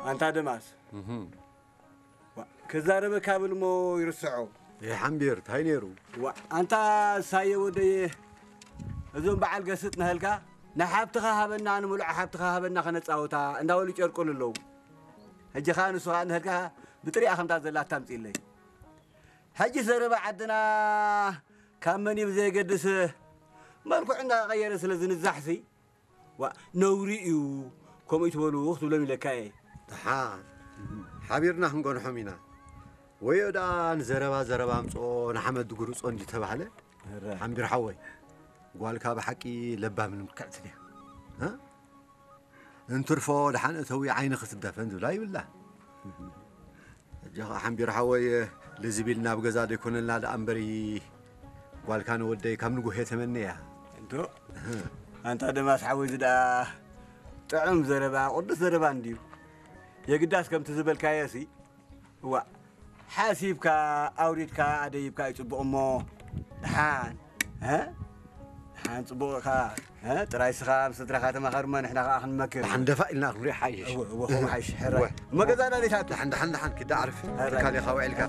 ኣንታ ደማስ፣ ዋ፣ ክዛረበካ ብል እሞ ይርስዖ። ይሓምቢር፣ እንታይ ነይሩ? ዋ፣ ኣንታ ሳየ ወደየ፣ እዞም በዓል ገስጥ ንህልካ፣ ንሓብትኻ ሃበና፣ ንምሉዕ ሓብትኻ ሃበና ከነጻውታ እንዳበሉ ይጨርቁሉ ኣለዉ። ሕጂ ኸኣ ንሱ ኸኣ ንህልካ ብጥሪኣ ከምታ ዘላ ኣታምጽእለይ። ሕጂ ዘረባ ዓድና ካብ መን እዩ ብዘየገድስ፣ መልክዑ እንዳቐየረ ስለ ዝንዛሕሲ፣ ዋ፣ ነውሪ እዩ፣ ከምኡ ይትበሉ ክትብሎም ኢለካ እየ። ደሓን፣ ሓቢርና ክንገንሖም ኢና። ወዮ ደኣ ንዘረባ ዘረባ ኣምጽኦ፣ ንሓመድ ድጉርጾ እንዲ ተባህለ፣ እረ። ሓምቢር ሓወይ፣ ጓልካ ብሓቂ ለባምን ምልክዕትን እያ። እ? እንትርፎ ደሓን እተዊ ዓይኒ ክትደፈን ዝብላ ይብላ። ሕጂ ኸዓ ሓምቢር ሓወይ፣ ልዝብ ኢልና ኣብ ገዛ ዘይኮነልና ደኣ እምበሪ፣ ጓልካ ንወደይ ካብ ንጉሄ ተመነያ። እንዶ፣ ኣንታ ደማስ ሓወይ፣ እዚ ደኣ ጥዑም ዘረባ፣ ቅዱስ ዘረባ እንድዩ። የግዳስ ከምቲ ዝበልካዮ ሲ፣ እዋ፣ ሓሲብካ፣ ኣውሪድካ፣ ኣደይብካ እዩ ጽቡቕ እሞ፣ ደሓን፣ እ? ደሓን ጽቡቕ ኢኻ፣ እ? ጥራይ ስኻ ምስ ስድራኻ ተማኸር እሞ ንሕና ከኣ ክንመክር። ደሓን ደፋእ ኢልና ክንሪኦ ሓይሽ። እወ፣ እወ፣ ከምኡ ሓይሽ፣ ሕራይ። እወ። እሞ ገዛ ዳሊታት። ደሓን፣ ደሓን፣ ደሓን፣ ኪዳ ዓርፍ። ሕራይ። ትካል ኢኻ ውዒልካ።